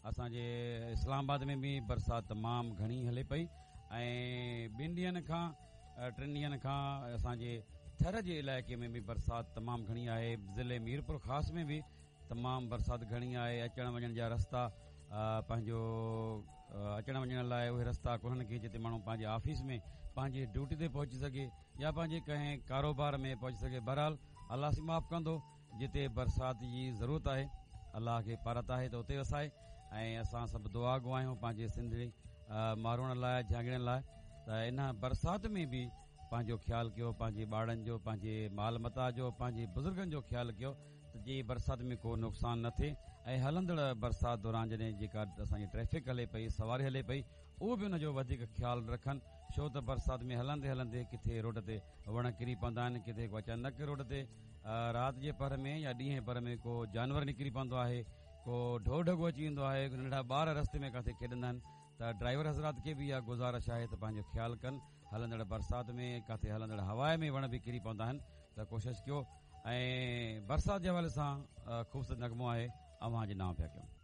اسان جي اسلام آباد ۾ به برسات تمام گهڻي هلي پئي ۽ ٻن ڏينهن کان ٽن ڏينهن کان اسان جي ٿر جي علائقي ۾ به برسات تمام گهڻي آهي. ضلعي ميرپور خاص ۾ به تمام برسات گهڻي آهي. اچڻ وڃڻ جا رستا پنهنجو اچڻ وڃڻ لاء اهي رستا ڪونهن ڪي جتي ماڻهو پنهنجي آفيس ۾ پنهنجي ڊيوٽي تي پهچي سگهي يا پنهنجي ڪنهن ڪاروبار ۾ پهچي سگهي. بهرحال الله سائين معاف ڪندو. جتي برسات جي ضرورت آهي الله کي پارت آهي ته اتي وسائي ۽ اسان سڀ دعا گو آهيون پنهنجي سنڌڙي ماروئڙن لاء جهانگڙين لاء ته ان برسات ۾ به پنهنجو خيال ڪيو پنهنجي ٻارڙن جو پنهنجي مال متاع جو پنهنجي بزرگن جو خيال ڪيو ته جي برسات ۾ ڪو نقصان نه ٿئي ۽ هلندڙ برسات دوران جڏهن جيڪا اسان جي ٽريفڪ هلي پئي سواري هلي پئي اهو به ان جو وڌيڪ خيال رکن ڇو ته برسات ۾ هلندي هلندي ڪٿي روڊ تي وڻ ڪري پوندا آهن ڪٿي ڪو اچانڪ روڊ تي رات جي پهر ۾ يا ڏينهن جي پهر ۾ ڪو جانور نڪري پوندو آهي ڪو ڍور ڍڳو اچي ويندو آهي ننڍڙا ٻار رستي ۾ ڪاٿي کيڏندا آهن ته ڊرائيور حضرات کي به اها گذارش آهي ته پنهنجو خيال ڪن هلندڙ برسات ۾ ڪاٿي هلندڙ هوا ۾ وڻ به ڪري پوندا آهن ته ڪوشش ڪيو ۽ برسات جي حوالي سان خوبصورت نغمو آهي اوهان جي نانء پيا ڪيون.